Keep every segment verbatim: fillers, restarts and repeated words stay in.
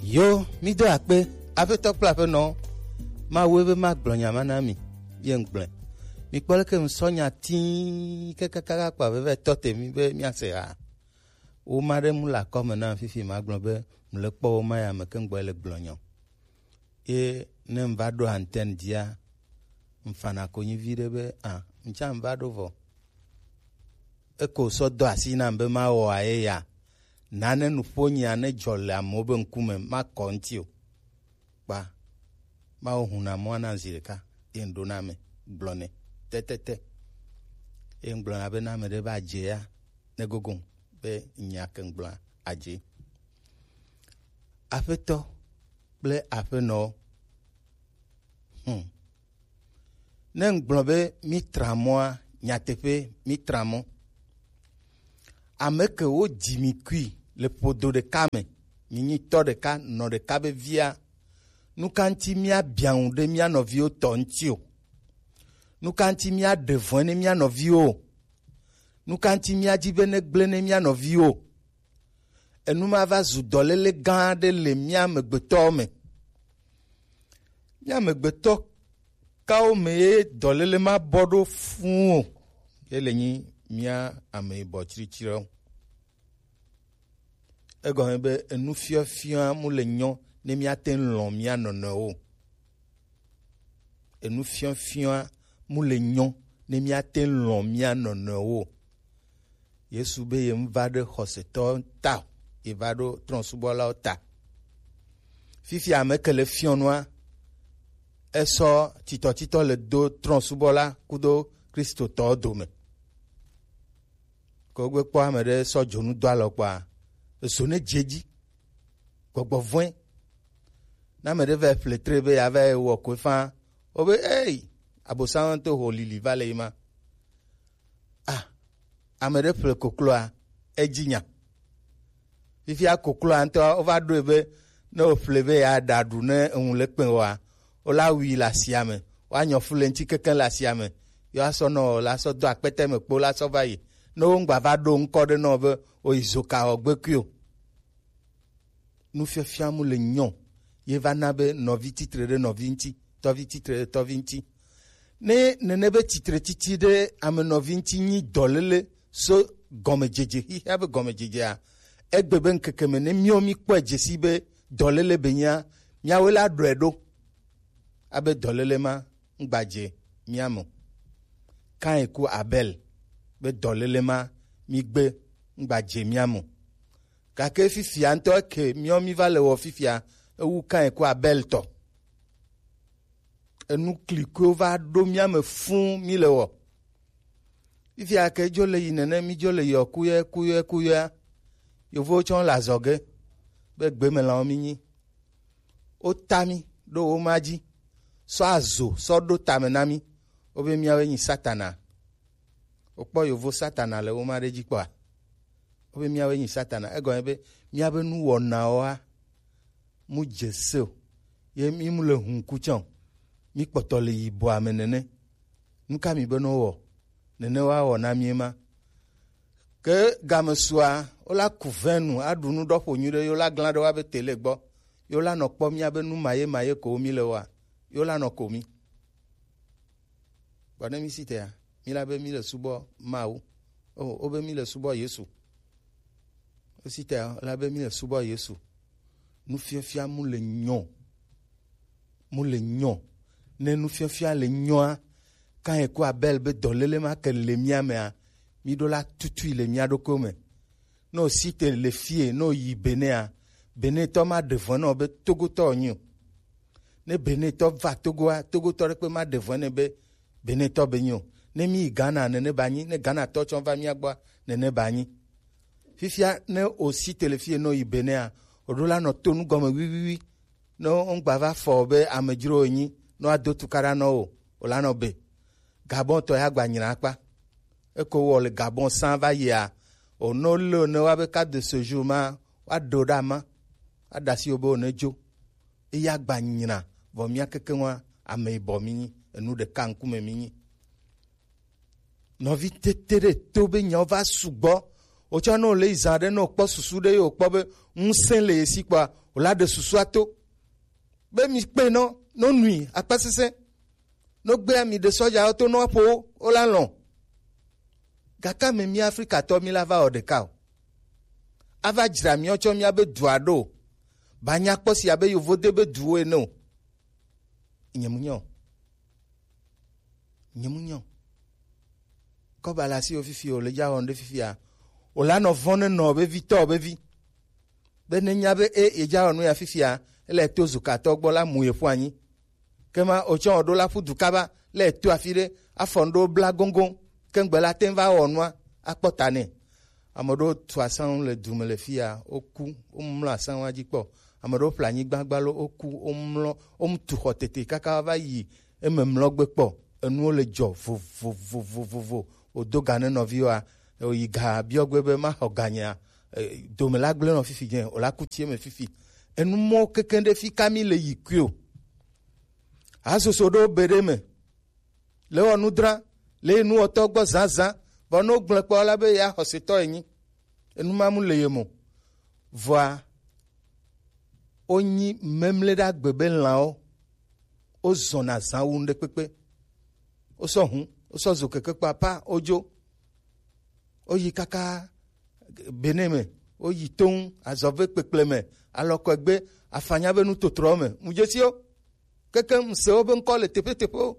Yo, mi do akpe, aƒetɔ kple aƒenɔ, Mawu be ma gblɔ nya ma na mi, ye ŋgblɔe. Mi kpɔ leke ŋsɔ nya tii kekekaka kpa veve tɔ te mi be mia se ha. Wo ma ɖe mu le akɔme na fifi ma gblɔ be mu le kpɔ wo ma ya me ke ŋgbɔ le gblɔ nyɔ. Ye ne ŋva ɖo antenne dzia, ŋfana konyi vi ɖe be, a, ŋtsa ŋva ɖo vɔ. Eko sɔ do asi nam be mawɔ aye ya. Nane nuƒo nyia ne dzɔ le amewo be ŋkume, makɔ ŋti o. Kpa, mawo huna mɔa na zi ɖeka, ye ŋɖo na ame, gblɔ nɛ, tɛtɛtɛ. Ye ŋgblɔ na be na ame ɖe va dze ya, ne gogo be nya ke ŋgblɔa, adze. Aƒetɔ kple aƒenɔwo. Hmm. Ne ŋgblɔ be mi tra mɔa, nyateƒe mi tra mɔ. Ame ke wo dzi mi kui le ƒodo ɖeka me, mi nyi tɔ ɖeka, nɔ ɖeka be via, nu ka ŋuti mia biaŋu ɖe mia nɔviwo tɔ ŋuti o? Nu ka ŋuti mia ɖe vɔ̃e ne mia nɔviwo o? Nu ka ŋuti mia dzi be ne gblẽ ne mia nɔviwo o? Enu ma va zu dɔléle gã aɖe le mía amegbetɔwo me. Mía amegbetɔ kawo me ye dɔléle ma bɔ ɖo fũu o? Ye le nyi mía ame yibɔ tsritsriwo. Egɔme be enufiɔfiɔa mu le nyɔ ne míate ŋu lɔ̃ mía nɔnɔewo o. Enufiɔfiɔa mu le nyɔ ne míate ŋu lɔ̃ mía nɔnɔewo o. Yesu be ye ŋva ɖe xɔsetɔwo ta o, ye va ɖo trɔ̃subɔlawo ta. Fifi ame ke le fiɔnua, esɔ titɔtitɔ le do trɔ̃subɔla kudo Kristotɔwo dome. Ke wogbe kpɔ ame ɖe sɔ dzonu do alɔ kpɔa, ezo ne dze edzi. Gbɔgbɔ vɔ̃e. Ne ame ɖe va ƒle tre be yeava yi wɔ koe faa, wobe, ei, Abosam to ho lili va le yi ma. Ah, ame ɖe ƒle kokloa, edzi nya. Fifia kokloa ŋutɔ, wova ɖoe be ne wòƒle be yeaɖa ɖu ne eŋu le kpẽ oa, wola wui le asia me, woanyɔ fu le ŋuti kekeŋ le asia me, yewoasɔ nɔ la sɔ do akpete me kpo la sɔ va yi. Ne woŋgba va ɖo ŋkɔ ɖe nɔ be oyi zoka wɔ gbekui o. Nufiafia mu le nyɔ, ye va na be nɔvi tsitre ɖe nɔvi ŋuti, tɔvi tsitre ɖe tɔvi ŋuti. Ne nene be tsitre tsitsi ɖe ame nɔvi ŋuti nyi dɔléle so gɔmedzedze, xexea be gɔmedzedzea, egbe be ŋkeke me ne míawo míkpɔe dze sii be dɔléle be nyia, míawoe la ɖɔe ɖo. Abe dɔléle ma ŋgbadze mía me o. Kain ku Abel be dɔléle ma mígbe ŋgbadze mía me o. Gake fifia ŋutɔ eke míawo míva le wɔ fifia, ewu Kain ku Abel tɔ. Enu klikoewo va ɖo mía me fũu mí le wɔ. Fifia ke dzo le yi nene, mí dzo le yɔ kuyɔe, kuyɔe, kuyɔea. Yovowo tsɔ le azɔge be gbemelãwo mí nyi. Wota mí ɖo wo ma dzi, sɔ azo sɔ ɖo tame na mí. Wobe míawoe nyi Satana. Wokpɔ yovo Satana le wo ma ɖe dzi kpɔa? Wobe míawoe nyi Satana. Egɔme be míabe nuwɔnawoa mu dze se o. Ye mí mu le hun ku tsã o. Mí kpɔtɔ le yibɔa me nene. Nu ka mi be ne wowɔ? Nene woawɔ na mí ema. Ke game sua, wola ku vɛnu, aɖu nu ɖɔ ƒo nyuie ɖe, yewo la glã ɖe woabe tele gbɔ. Yewo la nɔ kpɔ mía be nu maye maye ko mí le wɔa, yewo la nɔ ko mí. Gbɔ ne mí si tea, mí la be mí le subɔ Mawu. O, wo be mí le subɔ Yesu. Wo si tea, la be mí le subɔ Yesu. Nufiafia mu le nyɔ. Mu le nyɔ. Ne nufiafia le nyɔa, Kain ku Abel be dɔléle ma ke le mía mea, mí ɖo la tutui le mía ɖokuiwo me. Ne o si te le fie, ne o yi Benea, Benetɔ ma ɖe vɔ̃ na o be Togotɔ wònyi o. Ne Benetɔ va Togoa, Togotɔ ɖekpe ma ɖe vɔ̃ nɛ be Benetɔ be nyi o. Ne mí yi Ghana, nene ba nyi. Ne Ghanatɔ tsɔ va mía gbɔa, nene ba nyi. Fifia ne o si te le fie, ne o yi Benea, o ɖo la nɔ to nu gɔme wiwiwi. Ne woŋgba va fɔ be amedzro wònyi, ne woado tukaɖa nɔ wo, wòlanɔ be. Gabon tɔ ya gba nyina akpa. Eko wɔ le Gabon sã va yia, wòno le ne woabe carte de séjour ma, woaɖo ɖa ma, aɖe asi wo be wòne dzo. Eya gba nyina, vɔ mía kekeŋua, ame yibɔ mí nyi, enu ɖeka ŋkume mí nyi. Nɔvi tete ɖe to be nyawo va sugbɔ, Wotsɔ ne wòle yi zã ɖe, ne wòkpɔ susu ɖe ye wòkpɔ be ŋusẽ le ye si kpɔa, wòla ɖe susua to. Be mi kpe nɔ, no nui akpasesẽ. No gbea mi ɖe sɔjawo to no aƒo wo, wola lɔ̃. Gake ame mi Afrikatɔ mi la va wɔ ɖeka o. Ava dzra mi wotsɔ miabe dua ɖo. Ba nya kpɔ si abe yovo de be duwo ene o. Nye mu nyɔ. Nye mu nyɔ. Kɔba le asiwò fifi o, le dza wɔm ɖe fifia. O la nɔ vɔ̃ ne nɔ be vi tɔ be vi. Be ne nya be e ye dza wɔ nu ya fifia, ele to zukatɔ gbɔ la mu ye ƒu anyi. Kema o tsɔ ɖo la ƒu du kaba le to afi ɖe, afɔ ŋɖo bla goŋgoŋ, ke ŋgbe la te va wɔ nua, akpɔ ta nɛ. Ame ɖewo tu asaŋu le du me le fia, woku, womlɔ asaŋua dzi kpɔ. Ame ɖewo ƒle anyigba gbalo, woku, womlɔ, womu tu xɔ tete kaka va yi eme mlɔgbe kpɔ. Enuwo le dzɔ vovovovovovo. Wòdo ga ne nɔviwoa, wòyi ga biɔ gbe be maxɔ ganyea, e, dome la gblẽ nɔ fifi dze, wòla ku tie me fifi. Enu mɔwo kekeŋ ɖe fi ka mi le yi kui o. Hasoso ɖewo be ɖe me. Le wɔ nu dra, le yi nuwɔtɔ gbɔ zazã, vɔ ne wogblẽ kpɔ la be ya xɔsetɔ enyi. Enu ma mu le ye mo. Vɔa, wonyi memle ɖe agbe be lãwo, wozɔna zã wu ŋɖekpekpe. Wosɔ hu, wosɔ zo keke kpapa, wodzo. Woyi kaka Benin me, woyi toŋ, azɔve kpekple me, alɔkɔegbe, afanya be nutotrowo me. Mu dzesi wo. Keke ŋusẽ wobe ŋkɔ le teƒeteƒewo.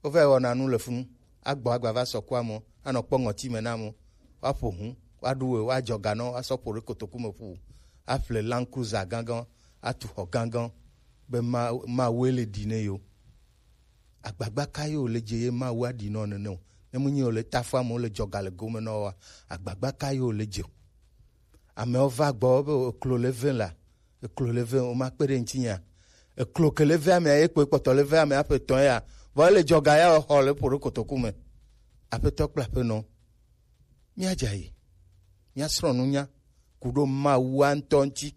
Wova yi wɔna nu le funu. Agbɔ agba va sɔ ku amewo, anɔ kpɔ ŋɔti me na amewo. Woaƒo hu, woaɖu we, woadzɔ ganɔ, woasɔ ƒo ɖe kotoku me ƒu. Aƒle Land Cruiser gãgã, atu xɔ gãgã, be ma, Mawue le ɖi ne yewo. Agbagba ka ye wòle dze ye Mawu aɖi nɔ nene o? Ne menye wòle tafu amewo le dzɔga le gome nɔ woa, agbagba ka ye wòle dze o? Amewo va gbɔ be eklo le ve la, eklo le ve, woma kpe ɖe ŋuti nya. Eklo ke le ve amea ye kpoe kpɔtɔ le ve amea ƒe tɔn ya, vɔ ele dzɔga ya xɔ le ƒo ɖe kotoku me. Aƒetɔ kple aƒenɔ, míadza yi, míasrɔ̃ nunya ku ɖo Mawua ŋutɔ ŋuti.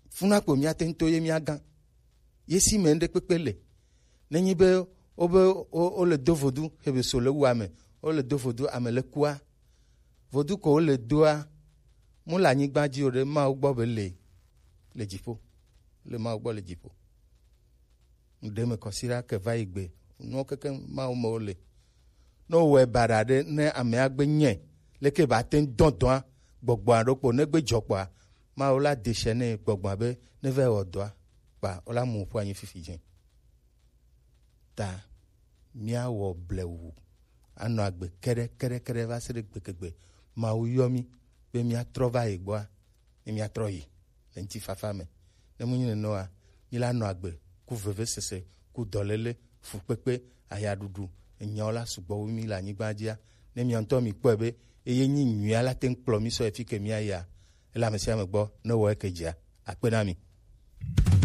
Funa kpo míate ŋu to ye míagã. Ye si me ŋɖekpekpe le. Nenye be wobe wo, wole do vodu, hebe so le wu ame, wole do vodu ame le kua, vodu ko wole doa, mu le anyigba dzi o ɖe, Mawu gbɔ be le, le dziƒo. Le Mawu gbɔ le dziƒo. Ŋɖe me kɔsiɖa ke va yi gbe. Nuwo keke Mawu me wole. Ne wowɔe baɖa ɖe, ne amea gbe nyɛ, leke ba te ŋu dɔ dɔa, gbɔgbɔa ɖo kpo, ne gbe dzɔ kpɔa, Mawu la de se nɛ gbɔgbɔa be ne va yi wɔ dɔa, kpa wola mu ƒu anyi fifi dzi. Ta míawɔ blewu, anɔ agbe keɖe, keɖe, keɖe va se ɖe gbegegbe. Mawu yɔ mí be míatrɔ va ye gbɔa, ne míatrɔ yi le ŋutifafa me. Ne menye nenema oa, míla nɔ agbe ku vevesese, ku dɔléle, fukpekpe, ayaɖuɖu, enyawo la sugbɔ wu mí le anyigba dzia, ne mia ŋutɔ mikpɔe be eye nyi nyuia la te ŋu kplɔ mí sɔ yi fi ke míayia, ele ame sia ame gbɔ ne wɔ eke dzia, akpe na mi.